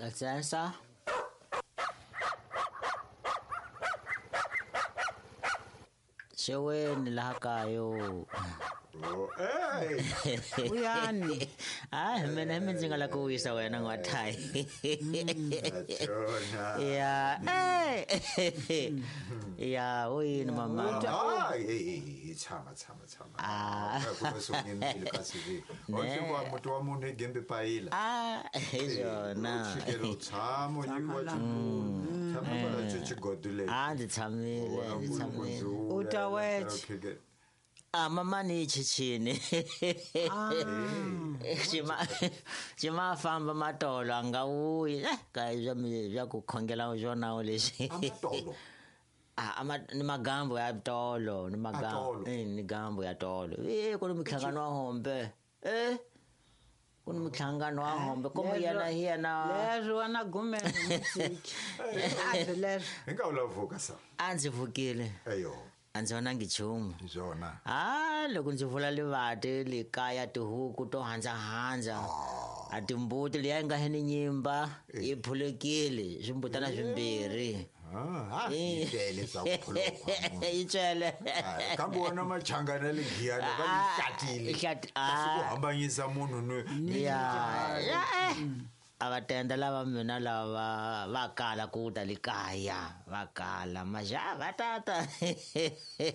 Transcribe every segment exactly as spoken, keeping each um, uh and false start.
Sensa. Xeweni laha kaya. Oh, hey. Uyani. Ah, mina hi ndzi nga la ku wisa wena n'wathayi. Ya. Eh. Ya, uyini mama? Ah, eh, tshama tshama tshama. Ah. Ku va sungile kasi vi. O wa mutu wa munhu gembe payila. Ah, hi swona. Xikelo tshamo nyikiwa xitulu. Tshama kwala xigodile. Ah, ndzi tshamile, ndzi tshamile. U ta weche. Ah, mama ni chichini. Ah. Xima xima famba matolo a nga wuyi. Eh, ka bya bya ku khongela swona lexi. Amatolo. Ah, ama ni magambo ya tolo, ni magambo. Eh, ni gambo ya tolo. Eh, ku ni mihlangano wa hombe. Eh. Ku ni mihlangano wa hombe komo yena hi yena. Leswi wa na gumela musiki. A leswi. Hi nga ula vuka sa. A ndzi vukile. Ayo. A ndzi vonangi nchumu. Swona. Ah, loko ndzi vula livati le kaya tihuku to handza-handza. A timbuti liya yi nga heni nyimba yi phulukile swimbutana swimbirhi. Ah, ah, yi tele swa ku phuluka. Yi tele. Kambe wona machangana le Giyani va yi hlatile. Kasi ku hambanyisa munhu ni ya. A va tenda lava mina lava va kala ku ta le kaya va kala maja va tata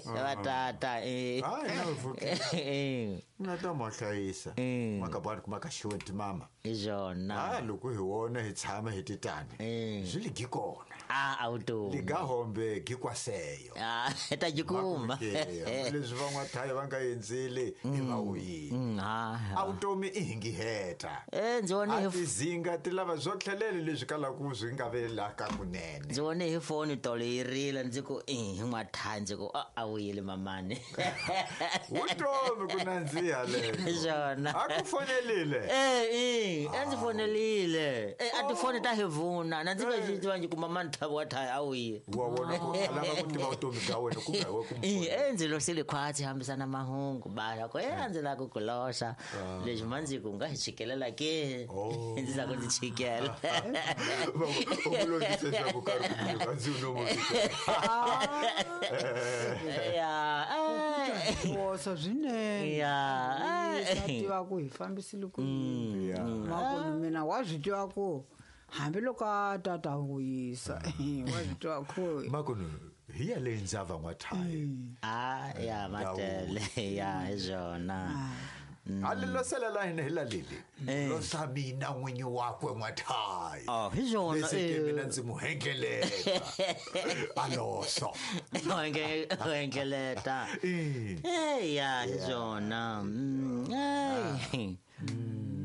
va tata eh ah na vuki na ta mo hlayisa makabani kuma ka xiwenti mama hi swona ah loko hi wona hi tshama hi titani swi li gi kona ah auto li ga hombe gi kwaseyo ah ta jikuma leswi van'wa thaya va nga endzile hi va wuyini ah automi i hingi heta eh ndzi vone hi zinga ti lava swo tlhelele leswi kalaka swi nga velaka kunene ndzi vone hi foni tolo yi rila ndzi ku eh hi n'wathaya ndzi ku a wuyile mamani vutomi ku nandziha lero swona a ku fonelile eh eh a ndzi fonelile eh a tifoni ta hi vuna na ndzi nga xi tiva ndzi ku mamani thabo wa thaya a wuye wa vona ku a lava ku tiva vutomi bya wena ku nga we ku eh eh ndzi losile khwatsi hambisana mahungu bara ku eh a ndzi lava ku ku loxa leswi ma ndzi ku nga hi chikelela ke ndzi lava ku ndzi chikela u longise swa ku karhi ku nyika ndzi no mo ya eh wosa swinene ya sa tiva ku hi fambisile ku yini makonu mina wa swi tiva ku hambiloko a tata ku yisa wa swi tiva ku makonu hi ya le ndzava n'wathaya ah ya matele ya hi swona a le losela la hina hi la leli losa mina n'winyi wakwe n'wathaya oh hi swona leswi ke mina ndzi mu hengeleta a loso hengeleta eh ya hi swona eh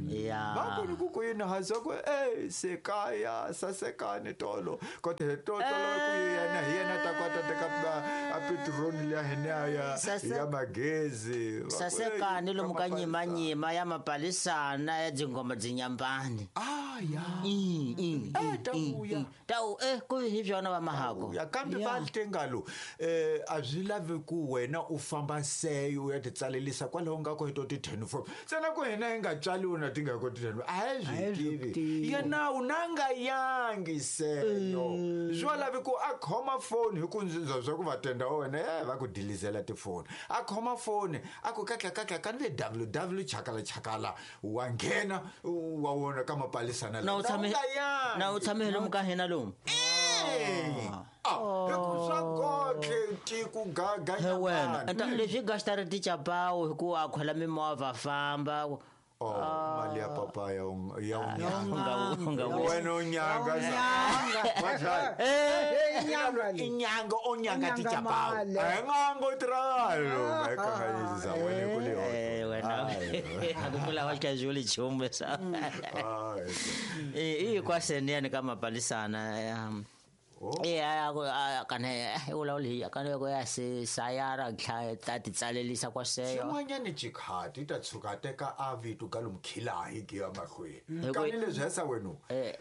ya bakoni ku ku yini haza ku eh sekaya sasekani tolo kote tolo ku yena hi yena ta kwata teka a petroli ya hina ya ya magezi sasekani lomu ka nyima nyima ya mapalisana ya dzingoma dzinyambani ah ya eh ta uya ta u eh ku hi byona va mahako ya kambe va tengalo eh a swi lavi ku wena u famba seyo ya titsalelisa kwalaho nga ko hi to ti ten form tsena ku hina hi nga tswaliwi na ti nga ko ti ten a hi swi tivi yena u nanga yangi seyo swi lavi ku a khoma phone hi ku ndzi swa ku va tenda wena eh va ku dilizela tifoni a khoma phone a ku katla katla ka le www chakala chakala wa nghena wa wona ka mapalisana na u tshame na u tshame lomu ka hina lomu ah hi ku swa gotle tiku gaga he wena enta leswi gastari ti chapawu hi ku a khola mimovha famba Oh, mali ya papa ya ya unga wena unyanga nyanga eh inyanga inyanga onyanga ti chapawu ngango tralo ngayikanganyisa wena kule eh wena akupula wa casual chumbe sa eh i kwaseni ka mapalisana eh a kane ula uli kane ko ya se sayara kha ta titsalelisa kwa seyo xin'wanyani xikhati ta tshuka teka a vito ka lomkhila hi gi ya mahlweni kani leswi hesa wena eh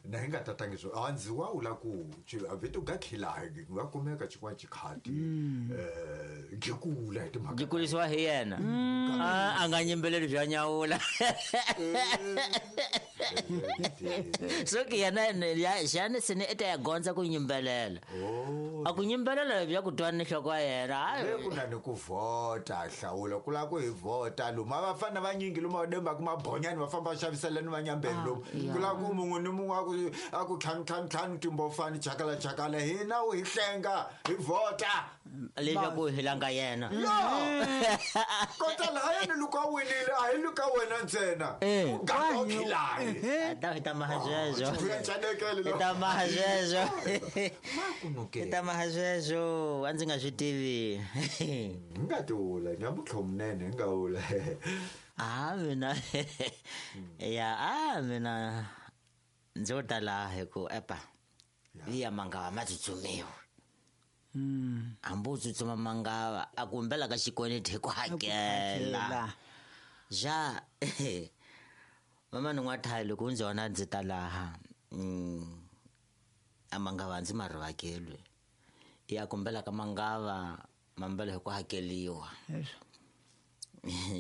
na hi nga tatangi swo a ndzi wa ula ku a vito ga khila hi va kumeka xin'wana xikhati eh gi kula hi timhaka gi kulisiwa hi yena a a nga nyimbeleli bya nyawula So ke yena ya xana se ni ete ya gondza ku nyimbelela. A ku nyimbelela bya ku twa ni nhloko ya yena. Le ku na ni ku vhota hlawula ku lava ku hi vhota luma vafana vanyingi luma va demba ku mabonyani va famba va xavisela ni vanyambeni lomu ku lava ku mun'we ni mun'we a ku a ku ntlhanu ntlhanu ntlhanu timbofani chakala chakala hina u hi hlenga hi vhota leswaku hi langa yena. Kota lahayani loko a winile a hi luka wena ntsena u ganga u khilani. Ta hi ta maha sweswo. Hi ta maha sweswo. Hi ta maha sweswo a ndzi nga swi tivi. Hi nga ti vula nyamuntlha munene hi nga vula. A mina ya a mina ndzo ta laha hi ku epa ya mangava ma tsutsumiwa. Hambi u tsutsuma mangava a ku humbela ka xikweleti hi ku hakela. Ja mama ni n'wathayi loko u ndzi vona ndzi ta laha a mangava ndzi ma rivakelwi ya kumbela ka mangava mambela hi ku hakeliwa.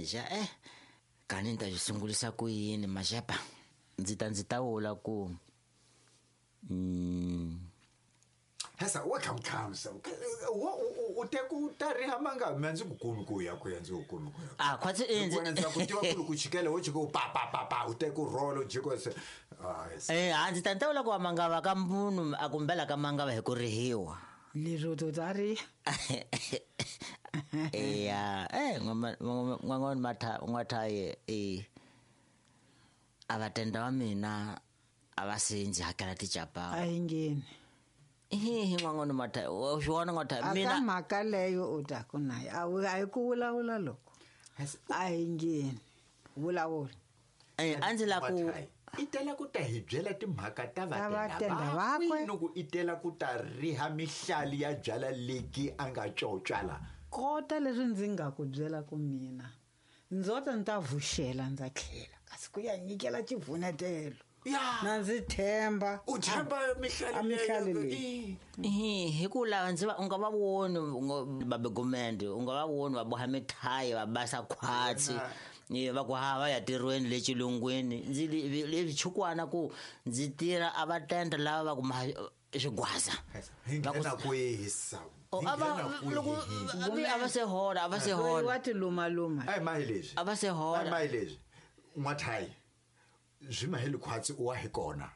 Ja eh kani ni ta swi sungulisa ku yini maxepa ndzi ta ndzi ta vula ku Hesa wa khamkhamsa u te ku ta riha manga mina ndzi ku kumi ku ya ku ya ndzi ku kumi ku ya. A khwatsi ndzi ndzi ku tiva ku ku chikela wo chika u pa pa pa pa u te ku rolo jiko se. Eh a ndzi ta ndzi ta vula ku mangava ka munhu a kumbela ka mangava hi ku rihiwa. Lero to ta riha. Ya eh n'wan'wana matha n'wathaye eh a va tenda wa mina a va se ndzi hakela ticapa. A hi ngheni. Hi n'wan'wana matha u swi vona n'watha mina a ka mhaka leyo u ta ku nayo a a hi ku vulavula loko a hi ngheni vulavula. Eh a ndzi la ku i tela ku ta hi byela timhaka ta vatenda vakwe loko i tela ku ta riha mihlali ya byala leki a nga cotswala. Kota leswi ndzi nga ku byela ku mina ndzo ta ni ta vuxela ndza tlhela kasi ku ya nyikela xivunetelo. Na ndzi themba u themba mihlali leyi. Hi ku lava ndzi va u nga va voni babegumende u nga va voni va boha mithayi va basa khwatsi va ku ha va ya tirhweni le xilungwini ndzi le chukwana ku ndzi tirha a va tenda lava va ku swigwaza. Hi nghena kwihi sa? A va loko a va se hola a va se hola. Wa ti luma luma. Ai mahi leswi. A va se hola. Ai mahi leswi. N'wathayi swi maheli khwatsi u wa hi kona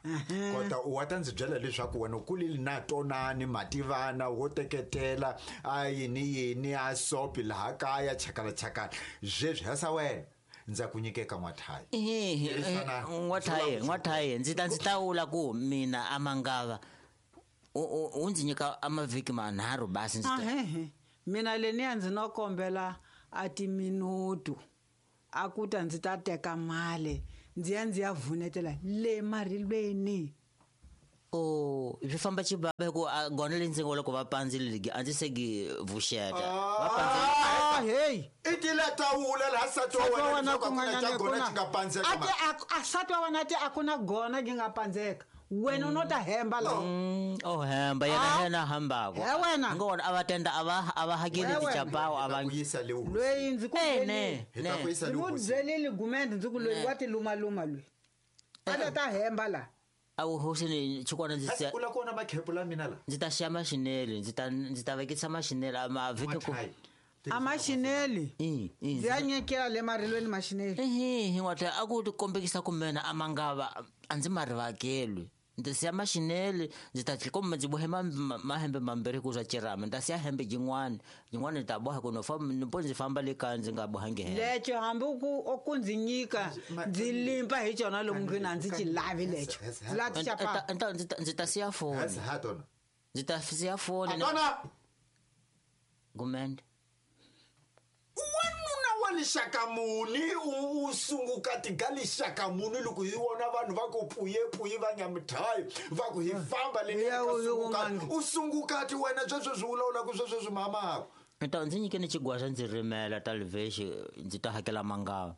kota u wa ta ndzi byela leswaku wena u kulile na tonani mativana wo teketela a yini yini a sopi laha kaya chakala chakala sweswi hasa wena ndza ku nyikeka n'wathayi. N'wathayi n'wathayi ndzi ta ndzi ta vula ku mina a mangava u ndzi nyika a mavhiki manharhu basi ndzi ta. Mina leniya ndzi no kombela a timinutu a ku ta ndzi ta teka mali ndzi ya ndzi ya vunetela le marilweni. O swi famba xibaba hi ku gona leyi ndzi nga loko va pandzile a ndzi se gi vuxeta va pandzile. Ah hey i tila tawula laha nsati wa wena leswaku a ku na xa gona xi nga pandzeka a ti a nsati wa wena ti a ku na gona gi nga pandzeka wena u no ta hemba la. O hemba yena yena hambako. He wena ngo a va tenda a va a va hakeli tichapawo a va loyi ndzi ku ne hi ta ku yisa le ndzi ku byelile gumende ndzi ku loyi wa ti luma luma loyi a ta ta hemba la. A wu hosini chukwana ndzi se u la kona makhepu la mina la ndzi ta xiya maxineli ndzi ta ndzi ta vekisa maxineli a ma vhiki ku a maxineli ndzi ya nyikela le marilweni maxineli. Ehe n'watha a ku kombekisa ku mina a mangava a ndzi ma rivakelwi ndzi siya maxineli ndzi ta kumbe ndzi bohe mahembe mambirhi ku swa cirama ndzi ta siya hembe yin'wana yin'wana ni ta boha ku no famba ni po ndzi famba le kaya ndzi nga bohangi hembe. Leco hambi ku ku ndzi nyika ndzi limpa hi cona lomu ndlwini a ndzi ci lavi leco ndzi la ti xapa. Ndzi ta siya foni ndzi ta siya foni gumende. Wanuna wa lixaka muni u sunguka tiga lixaka muni loko hi vona vanhu va ku puyepuye va nyamithayi va ku hi famba le u sungukati wena sweswo swi vulavulaka sweswo swi mamako. Ta ndzi nyike ni xigwaza ndzi rimela ta livexi ndzi ta hakela mangava.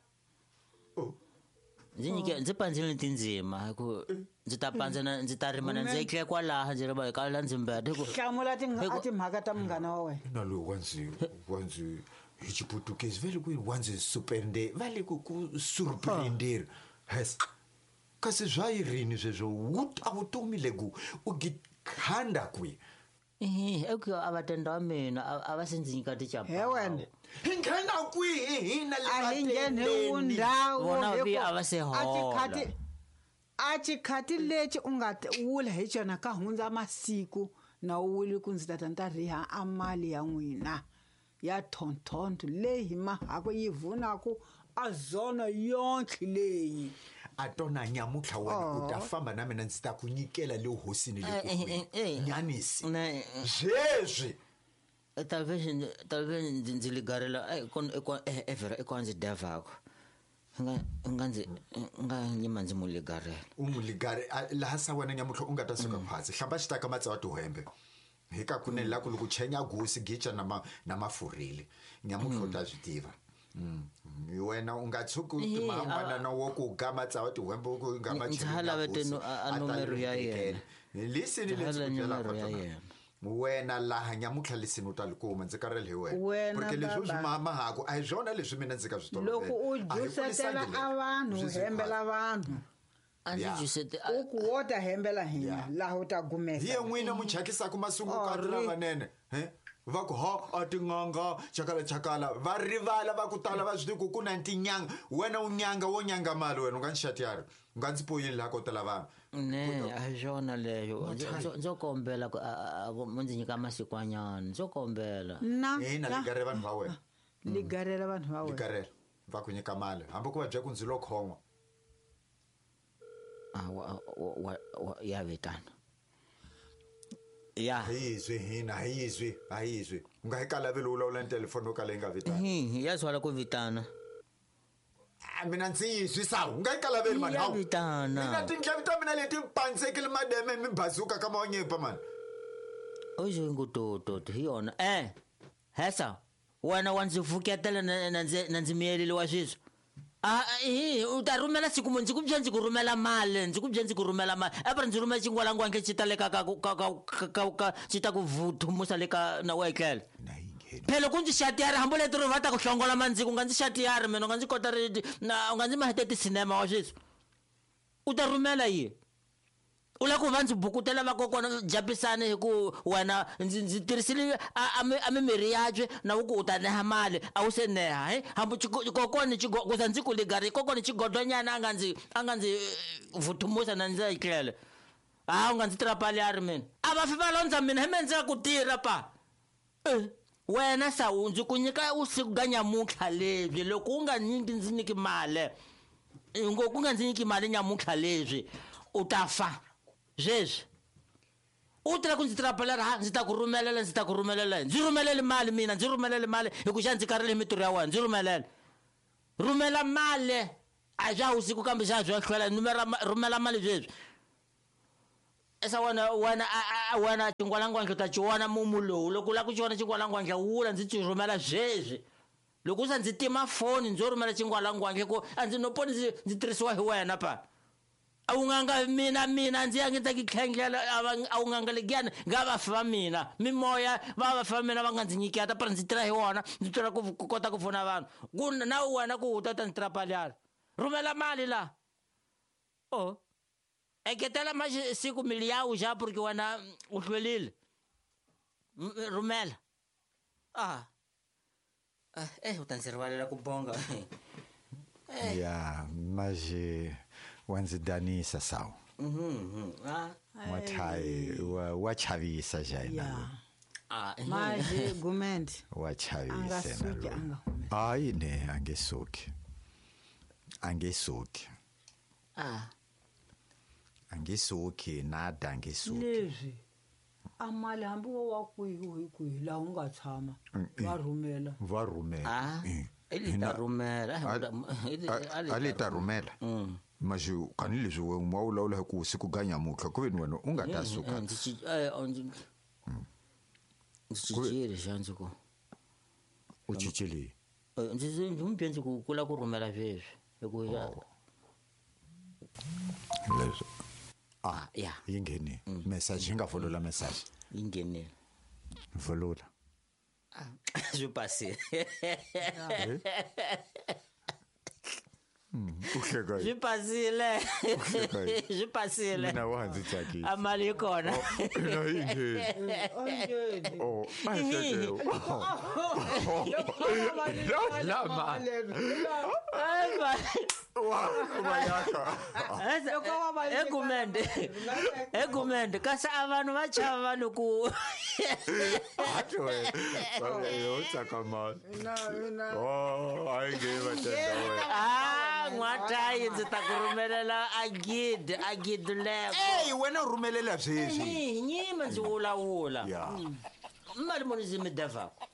Ndzi nyike ndzi pandzile tindzima hi ku ndzi ta pandza na ndzi ta rima na ndzi etlele kwalaha ndzi rima hi la ndzi mbeta hi ku hlamula timhaka ta munghana wa wena. Na loyi wa ndzi wa ndzi hi xiputukezi va le ku wa ndzi supende va le ku ku surprender. Hes Kasi swa yirini sweswo wu ta vutomi leku u gikhanda kwi. Eh, e ku a va tenda wa mina a va se ndzi nyika tichapa. He wena. Hi nghena kwihi hina le a hi ngheni undhawu Vona vi a va se hola. A xikhati lexi u nga wula hi xona ka hundza masiku na u wuli ku ndzi tata ni ta riha a mali ya n'wina ya thonthonto leyi hi mahako yi vunaku a zona yonke leyi. A tona nyamutlha wena u ta famba na mina ndzi ta ku nyikela le hosini le ku nyanisi sweswi. Talvez talvez ndzi ligarela eh kon eh vera e kon ndzi devako. Nga nga ndzi nga nyima ndzi mu ligarela. U mu ligare laha sa wena nyamutlha u nga ta suka phansi hlamba xitaka matsawa tihembe. Hi ka kunene la ku loko chenya gosi gicha na ma na mafurile nyamutlha u ta swi tiva. Wena u nga tshuki u tima n'wana na wo ku ga matsawa tihembe ku nga ma chenya. Ndzi lavete a nomero ya yena. Lisini le ndzi ku byelaka yona. Wena laha nyamutlha lisini u ta li kuma ndzi karhele hi wena. Porque leswi u swi mahako a hi swona leswi mina ndzi ka swi tolovela. Loko u jusetela a vanhu hembela vanhu. A ndzi jusete u ku wo ta hembela hina laha u ta gumesa. Hi n'wina mu chakisaka masungukati lamanene he va ku ha a tin'anga chakala chakala va rivala va ku tala va swi tivi ku ku na tinyanga wena u nyanga wo nyanga mali wena u nga ni xatiyari u nga ndzi poyini laha ko tala vanhu. Ne a hi swona leyo ndzo kombela ku mu ndzi nyika masikwanyana ndzo kombela. Na ina ligarela vanhu va wena. Ligarela vanhu va wena. Ligarela va ku nyika mali hambi ku va bya ku ndzi lo khon'wa. Ah wa wa ya vitana. Ya. Hi hina hi izwi hi izwi u nga hi kalaveli u vulavula ni telefoni yo kala yi nga vitana. Hi ya swala ku vitana. A mina ndzi yizwi sawu u nga hi kalaveli mani hawu. Vitana. Mina tindleve ta mina leti pandzekile mademe mi bazuka ka mawanyepa mani. Ojo ngutoto hi yona eh hesa wena wa ndzi vuketela na ndzi na ndzi miyelile wa sweswi. Ah eh u ta rhumela siku ndzi ku bya ndzi ku rhumela mali ndzi ku bya ndzi ku rhumela mali a ndzi rhumela xingwalangwandle xi ta le ka ka ka ka xi ta ku vuthumusa le ka na wetlela. Phela ku ndzi xatiyari hambi leti ri va ta ku hlongola mandziko u nga ndzi xatiyari mina u nga ndzi kota ri na u nga ndzi mahete tisinema wa sweswi. U ta rhumela yi. U la ku va ndzi bukutela vakokwana japisani hi ku wena ndzi ndzi tirhisile a a mimiri yabye na ku u ta neha mali a wu se neha he hambi kokwana kuza ndzi ku ligari kokwana xigodonyana a nga ndzi a nga ndzi vuthumusa na ndzi etlela. A u nga ndzi tirapali mina a va fi va londza mina hi me ndzi nga ku tirha pa. Wena sawu ndzi ku nyika usiku ga nyamutlha lebyi loko u nga nyiki ndzi nyiki mali ngo ku nga ndzi nyiki mali nyamutlha lebyi u ta fa. Sweswi u tela ku ndzi tirhapelela ha ndzi ta ku rhumelela ndzi ta ku rhumelela ndzi rhumelele mali mina ndzi rhumelele mali hi ku xa ndzi karhele hi mintirho ya wena ndzi rhumelela rhumela mali a bya usiku kambe xa bya hlwela numera rhumela mali sweswi esa wena wena wena xingwalangwandla ta xiwona mumu lowu loko u lava ku xiwona xingwalangwandla wula ndzi ti rhumela sweswi loko u sa ndzi tima foni ndzo rhumela xingwalangwandla ku a ndzi no poni ndzi ndzi tirhisiwa hi wena pa. A wu nganga mina mina ndzi ya ngi ta ki tlhengela a wu nganga legiyana nga va fa mina mimoya va va fa mina va nga ndzi nyiketa para ndzi tirha hi wona ndzi tirha ku kota ku pfuna vanhu ku na wena ku u ta ta ndzi tirha rhumela mali la o eketela masiku mili ya u xa porque wena u hlwelile rhumela ah eh u ta ndzi rivalela ku bonga. Ya maje wa ndzi danisa sawu. Mhm. Ah wathai wa chavisa jaina. Ah maje gumende wa chavisa na. Hayi ne angesuki. Angesuki. Ah angesuki nada angesuki. Leswi a mali hambi wo wa kwihi hi kwihi laha u nga tshama va rhumela. Va rhumela. Ah ili ta rhumela a li ta rhumela. Mas kani leswi wena u vulavula hi ku usiku ga nyamutlha ku veni wena u nga ta suka. Ndzi cincile xa ndzi ku u cincile ndzi ndzi n'wi bye ndzi ku ku lava ku rhumela sweswi hi ku leswi ah ya yi nghenile message yi nga volola message yi nghenile volola ah swi pasile. U hleka swi pasile swi pasile mina wa ndzi tsakisa a mali yi kona ina yi ngheni oh a hi hleke lama egumende egumende kasi a vanhu va chava vanhu ku atwe yo tsaka mali oh a yi nge va tenda ah n'watayi ndzi ta ku rhumelela a gidi a gidi leko ey wena u rhumelela sweswi nyima ndzi vulavula mali muni ndzi mi devako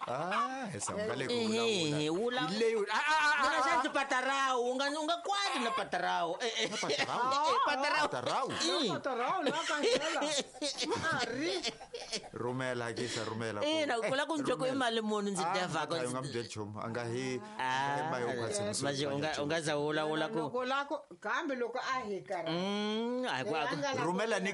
ah esa nga le ku vulavula leyi mina xa ndzi patarawu u nga u nga kwati na patarawu patarawu patarawu patarawu la kancela ari rhumela kisa rhumela ina ku la ku ndzi ku i mali muni ndzi devako u nga mi byeli nchumu a nga hi maje u nga u nga za vulavula ku loko la ku kambe loko a hi karhi mm a ku rhumela ni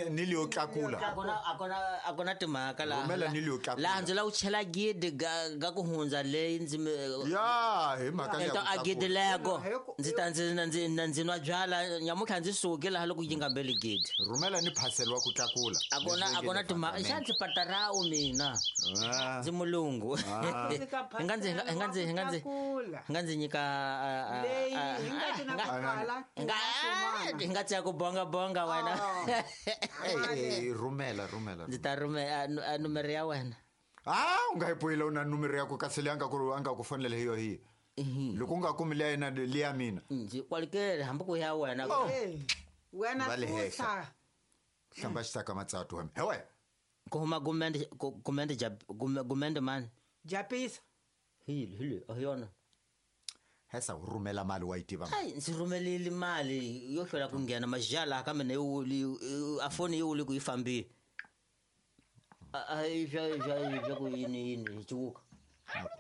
ni leyo tlakula a ku na a ku na a ku na timhaka la rhumela ni leyo tlakula laha ndzi la ku chela gidi ga ga ku hundza leyi ndzi ya hi mhaka ya a gidi leko ndzi ta ndzi ndzi ndzi nwa byala nyamutlha ndzi suki laha loko yi nga mbeli gidi rhumela ni parcel wa ku tlakula a ku na a ku na timhaka xa ndzi patarawu mina ndzi mulungu hi nga ndzi hi nga ndzi hi nga ndzi hi nga ndzi nyika hi nga tsaya ku bonga bonga wena eh rhumela rhumela ndzi ta rhumela nomero ya wena ah u nga yi poyila u na nomero ya ku kasi leyi a nga ku a nga ku fonela hi yo hi loko u nga kumi leya yena leya mina ndzi kwalikele hambi ku ya wena wena susa hlamba xitaka matsatu wena he wena ku huma gumende gumende ja gumende mani japisa hi hi a hi yona hesa u rhumela mali wa yi tiva hayi ndzi rhumelile mali yo hlwela ku nghena majala ka mina yi wuli a foni yi wuli ku yi fambile a hi swa swa swa ku yini yini hi ciwuka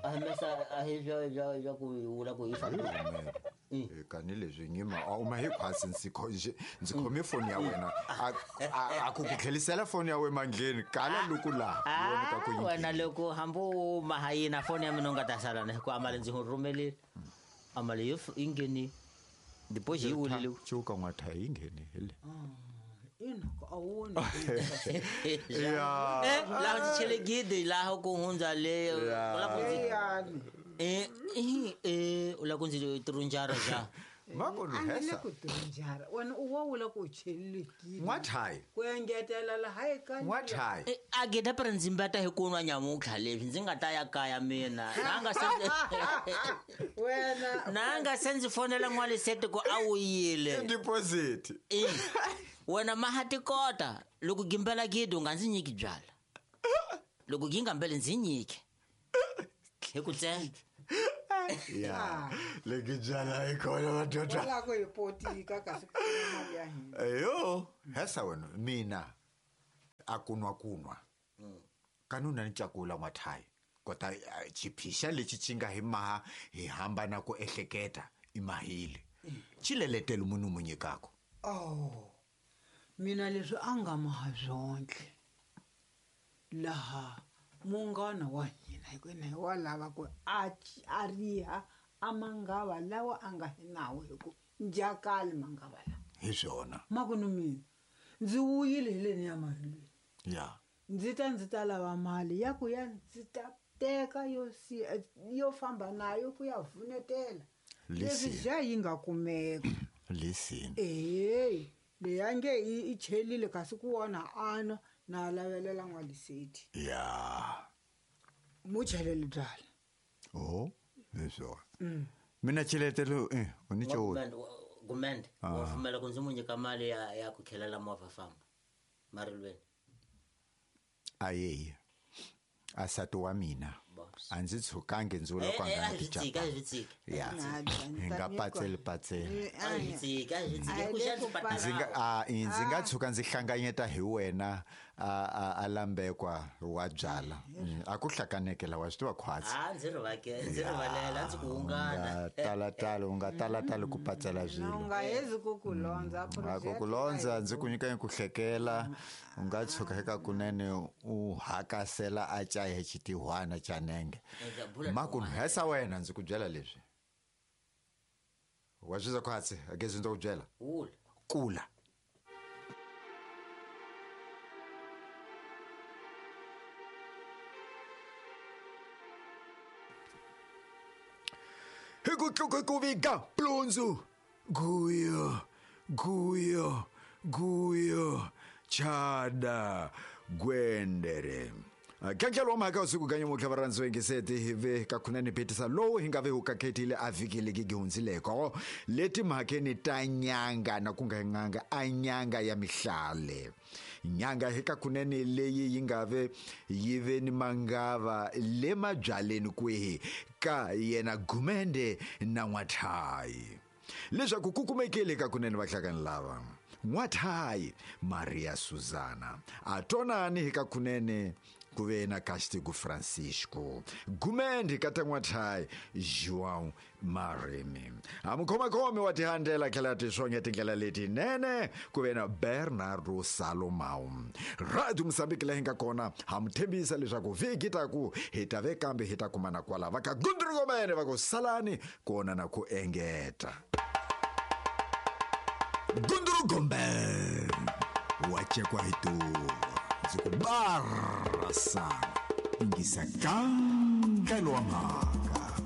a hi mesa a hi swa swa swa ku wula ku yi fambile kani leswi nyima a u ma hi khwasi ndzi ndzi khome foni ya wena a ku ku tlhelisela foni ya wena mandleni kala loko laha vona ka ku yi wena loko hambi u maha yina foni ya mina u nga ta sala na hikuva mali ndzi rhumelile a mali yo yi ngheni deposit yi wulile ciwuka n'watha yi ngheni hi le ina a wona ya eh laha ndzi chele gidi laha ku hundza le u la ku ndzi eh eh u la ku ndzi tirhunjara ja makonu hesa ku tirhunjara wena u wa wula ku chelile gidi n'wathayi ku engetela laha eka n'wathayi a gida pere ndzi mbeta hi ku nwa nyamutlha leswi ndzi nga ta ya kaya mina na nga se wena na nga se ndzi fonela n'walisete ku a wu yile deposit wena mahatikota loko gimbela gidi u nga ndzi nyiki byala loko gi nga mbele ndzi nyike hi ku tsena ya leki byala yi kona madoda la ku hi potika kasi ku mali ya hina eyo hesa wena mina a kunwa kunwa kanuna ni cakula n'wathayi kota xiphixa lexi xi nga hi maha hi hambana ku ehleketa i mahile xileletelo munhu mu nyikaka oh mina leswi a nga maha byonke laha munghana wa hina hikwena hi wa lava ku a a riha a mangava lawa a nga hi nawo hi ku njakali mangava lawa hi swona makunu mina ndzi wuyile hi leni ya marilweni ya ndzi ta ndzi ta lava mali ya ku ya ndzi ta teka yo si yo famba nayo ku ya vunetela leswi ja yi nga kumeka listen eh leya nge i chelile kasi ku wona ana na lavelela n'waliseti ya mu chelele byala oh leswo mina cheletelo eh u ni cho gumende wa pfumela ku ndzi mu nyika mali ya ya ku khelela movha famba marilweni ayeyi asati wa mina a ndzi tshukangi ndzi vula ku a nga ya hi nga patseli patseli ndzi nga a ndzi nga tshuka ndzi hlanganyeta hi wena a a a lambekwa wa byala a ku hlakaneke lawa swi tiva khwatsi a ndzi rivake ndzi rivalela ndzi ku hungana tala tala u nga tala tala ku patsela swilo u nga hezi ku ku londza a ku ku londza ndzi ku nyika ku hlekela u nga tshuka eka kunene u hakasela a caya xitihwana xa nenge makunhesa wena ndzi ku byela leswi Wa swi khwatsi a ke ndzi ku byela. Wula. Kula. Hi ku tluka ku vika plunzu. Guyo, guyo, guyo, chada, gwendere. Kankelo wa mhaka usiku kanye mutlha va rhandziwa yingiseti hi ve ka khunene phitisa lowu hi nga ve hu kakhethile a vhiki leki gi hundzileko leti mhakeni ta nyanga na ku nga n'anga a nyanga ya mihlale nyanga hi ka khunene leyi yi nga ve yi ve ni mangava le mabyaleni kwihi ka yena Gumende na N'wathayi leswaku ku kumekile ka kunene vahlakani lava N'wathayi Maria Susana a tonani hi ka kunene ku ve na Castigo Francisco Gumende ka ta N'wathayi João Marimi a mukhomakhomi wa tihandlela tlhela tiswonge tindlela letinene ku ve na Bernardo Salomão Radio Mozambique leyi nga kona ha mu tshembisa leswaku vhiki ta ku hi ta ve kambe hi ta kumana kwala va ka Gundrugomene va ku salani kona na ku engeta Gundrugombe wa chekwa hi tuva ndzi ku barasa ingisa kankelo wa mhaka.